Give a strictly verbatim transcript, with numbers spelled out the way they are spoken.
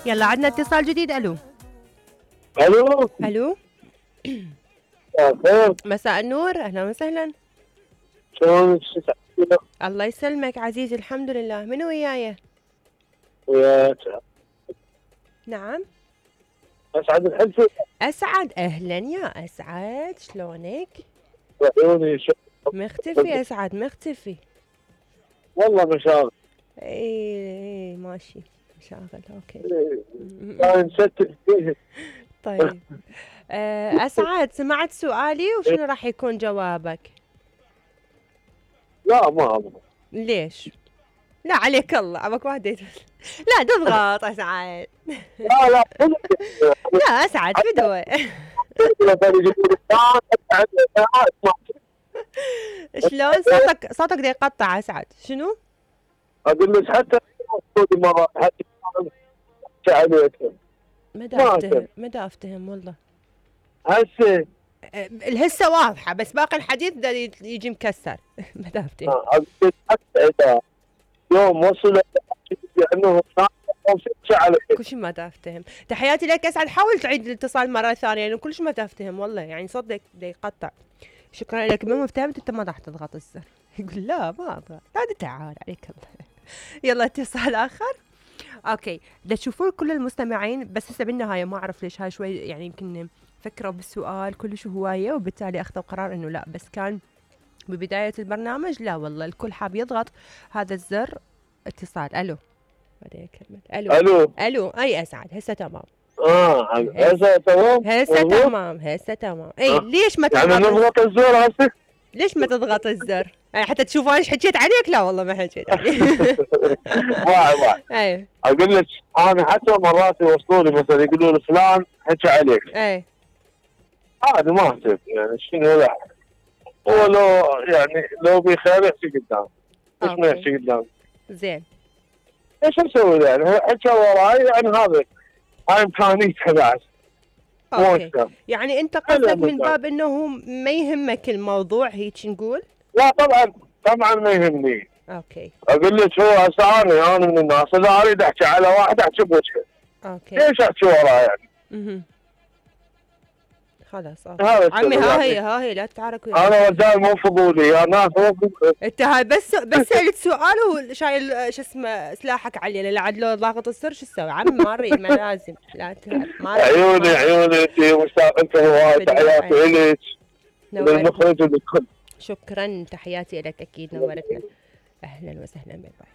يلا عندنا اتصال جديد. الو الو الو خير. مساء النور، اهلا وسهلا. شلونك؟ الله يسلمك عزيزي، الحمد لله. منو وياي؟ وياك. نعم اسعد الحلفي. اسعد، اهلا يا اسعد، شلونك؟ وعيوني شو مختفي اسعد، مختفي. والله مشاغل. اي ماشي مشاغل، اوكي. كان مستف فيه. طيب اسعد، سمعت سؤالي وشنو راح يكون جوابك؟ لا ما ابغى. ليش؟ لا عليك الله، عبك واحد لا تضغط اسعد. لا لا لا اسعد فدوه. شلون صوتك؟ صوتك دا يقطع اسعد. شنو؟ اقول لك حتى مره حتى عليك. ما دا افتهم، ما دا افتهم والله. هسه الهسه واضحه بس باقي الحديث دا يجي مكسر. ما دا افتهم. اقول لك حتى اذا يوم وصل انه كل شيء ما دا افتهم. تحياتي لك اسعد، حاول تعيد الاتصال مره ثانيه لانه كل شيء ما دا افتهم والله، يعني صدق دا يقطع. شكرا لك. ما فهمت انت ما راح تضغط الزر. يقول لا ما اضغط. هذا تعال عليك الله. يلا اتصال اخر. اوكي دا تشوفون كل المستمعين، بس هسه بالنهايه ما اعرف ليش هاي شوي يعني يمكن فكروا بالسؤال كلش هوايه وبالتالي اخذوا قرار انه لا، بس كان ببدايه البرنامج لا والله الكل حاب يضغط هذا الزر. اتصال. الو بعدين كلمه. الو الو الو اي اسعد، هسه تمام. اه هسه تمام. هسه تمام هسه تمام. اي آه. ليش ما تضغط؟ يعني نضغط الزر هسه؟ ليش ما تضغط الزر؟ يعني حتى تشوفوا ايش حكيت عليك؟ لا والله ما حكيت عليك. واعي واعي. اي اقول لك انا حتى مرات يوصلوا لي مثلا يقولوا لي فلان حكى عليك. اي عادي ما اهتم يعني شنو. لا هو لو يعني لو بخير يحكي قدام، ليش ما يحكي قدام؟ زين ايش اسوي يعني؟ هو حكى وراي يعني هذا هاي امكانيته بعد. اوكي يعني انت قصدك من باب انه ما يهمك الموضوع هيك نقول؟ لا طبعا طبعا ما يهمني. اوكي اقول لك هو هسه انا انا من الناس اذا اريد احكي على واحد احكي بوجهه. اوكي ليش احكي وراه يعني؟ اها خلاص اوكي عمي ها هي ها هي لا تتعارك وياي. انا رجال مو فضولي يا ناس مو فضولي. انت هاي بس بس سالت سؤال وشايل شو اسمه سلاحك علي. لا عاد لو ضاغط السر شو تسوي؟ عمي ما اريد ما لازم. لا ما عيوني عيوني انت مشتاق انت هواي. تحياتي الك للمخرج وللكل. شكرا تحياتي لك اكيد نورتنا. اهلا وسهلا، باي باي.